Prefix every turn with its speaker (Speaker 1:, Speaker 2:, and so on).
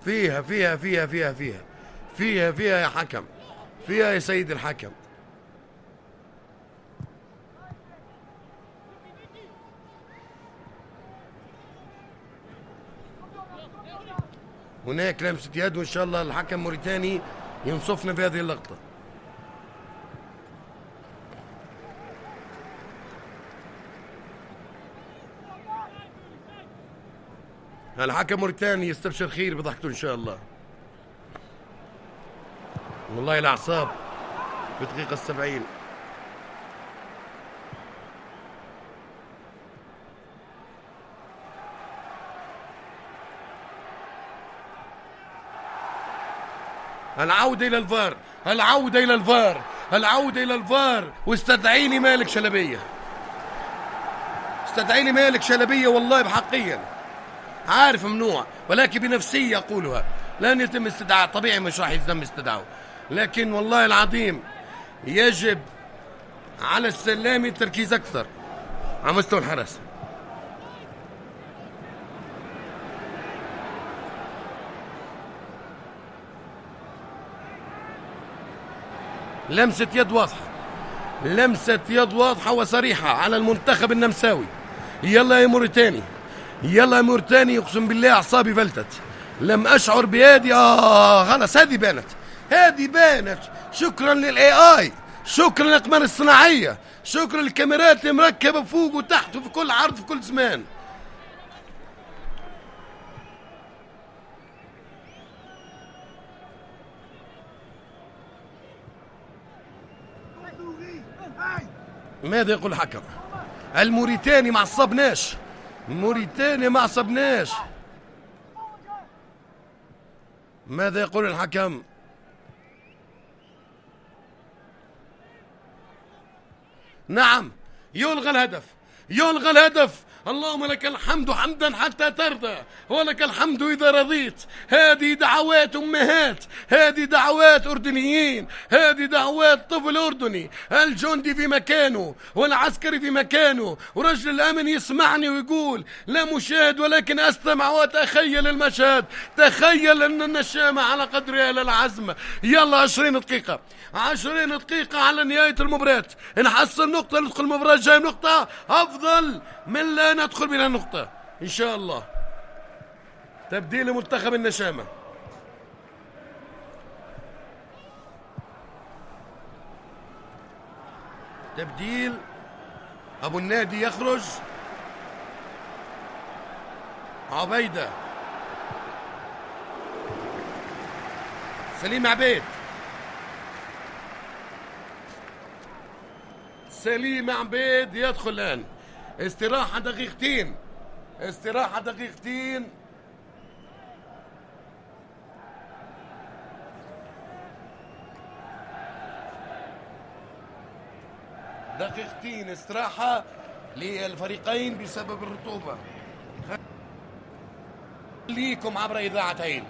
Speaker 1: فيها فيها فيها فيها فيها فيها فيها يا حكم، فيها يا سيد الحكم. هناك لمسة يد، وإن شاء الله الحكم موريتاني ينصفنا في هذه اللقطة. الحكم موريتاني يستبشر خير بضحكته إن شاء الله. والله الأعصاب في الدقيقة 70. العودة إلى الفار، العودة إلى الفار، العودة إلى الفار. واستدعيني مالك شلبية، استدعيني مالك شلبية والله بحقيا. عارف ممنوع، ولكن بنفسي أقولها. لن يتم استدعاء، طبيعي مش راح يتم استدعاءه، لكن والله العظيم يجب على السلامي التركيز أكثر على مستوى الحرس. لمسة يد واضحة، لمسة يد واضحة وصريحة على المنتخب النمساوي. يلا يا موريتاني، يلا يا موريتاني. اقسم بالله اعصابي فلتت، لم اشعر بهذه. خلاص هذه بانت، هذه بانت. شكرا للاي اي، شكرا للاقمار الصناعيه، شكرا للكاميرات المركبه فوق وتحت وفي كل عرض في كل زمان. ماذا يقول الحكم؟ الموريتاني ما عصبناش، موريتاني ما عصبناش. ماذا يقول الحكم؟ نعم، يلغى الهدف، يلغى الهدف. اللهم لك الحمد حمدا حتى ترضى، ولك الحمد إذا رضيت. هذه دعوات أمهات، هذه دعوات أردنيين، هذه دعوات طفل أردني. الجندي في مكانه والعسكري في مكانه، ورجل الأمن يسمعني ويقول لا مشاهد ولكن أستمع وأتخيل المشهد. تخيل أن النشامة على قدرها للعزم. يلا 20 دقيقة، 20 دقيقة على نهاية المباراة. نحصل نقطة ندخل المباراة الجاية نقطة أفضل من لا ندخل بلا نقطة إن شاء الله. تبديل منتخب النشامة. تبديل أبو النادي يخرج، عبيدة، سليم عبيد، سليم عبيد يدخل الآن. استراحة دقيقتين، استراحة دقيقتين. دقيقتين استراحة للفريقين بسبب الرطوبة. خليكم عبر إذاعتين.